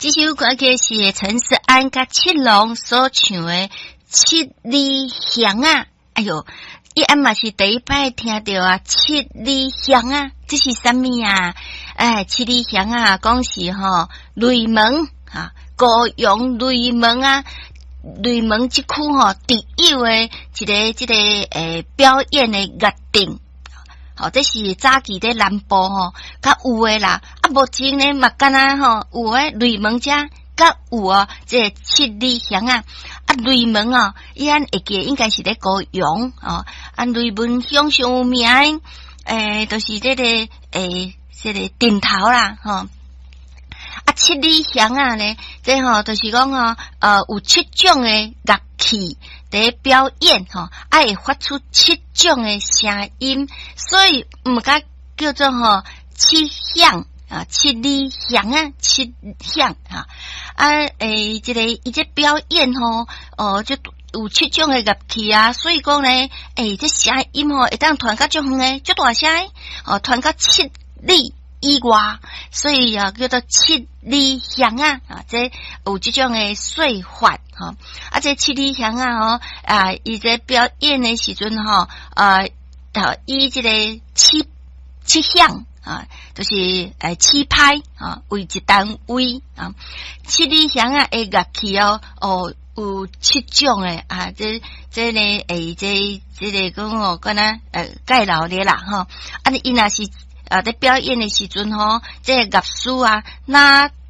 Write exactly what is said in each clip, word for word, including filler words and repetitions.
這首歌曲是陳勢安佮七龍所唱的《七里香》啊！哎喲，伊按嘛是第一擺聽著啊，《七里香》啊，這是啥物啊？哎，七里香啊，講是吼雷門啊，高雄雷門啊，雷門這區吼特有的一个這个欸表演的樂陣。吼，這是早期佇南部吼，較有的啦。啊，目前呢嘛敢若吼有的雷門遮較有哦，這个七里香啊。啊，雷門哦，伊按會記應該是咧高雄哦。啊，雷門鄉上有名的，欸，就是這个欸，這个陣頭啦，吼。啊，七里香啊呢，這吼就是講吼，呃，有七種的樂器佇表演吼，啊，會發出七種的聲音，所以毋敢叫做吼七響啊，七里香啊，七響哈。啊，欸，這个伊這表演吼，哦，就有七種的樂器啊，所以講呢，欸，這聲音吼會當傳甲足遠的，足大聲，哦，傳甲七里以外，所以啊，叫做七里香啊，啊，這有這種的說法，吼，啊，這七里香啊，吼，啊，伊這表演的時陣吼，啊，以這個七七響啊，就是欸七拍啊為一單位啊，七里香啊的樂器哦，哦有七種的啊，這這呢欸這這个講哦，敢若呃蓋老的啦，吼，啊，伊若是啊，佇表演的時陣吼，這個樂師啊，若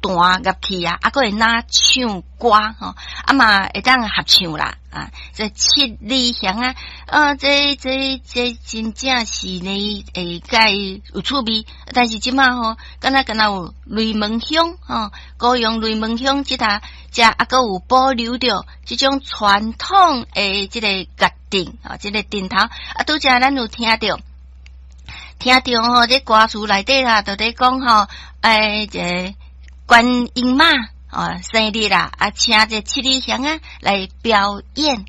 彈樂器啊，啊，閣會若唱歌吼，啊嘛會當合唱啦，啊，這七里香啊，啊，這這這真正是呢，會較有趣味。但是這馬吼，敢若敢若有雷門鄉吼，高雄雷門鄉這搭遮啊，閣有保留著這種傳統的這個樂陣啊，這個陣頭啊，拄才咱有聽著。聽著吼，這歌詞內底啦，就佇講吼，欸，這觀音媽哦生日啦，啊，請這七里香啊來表演。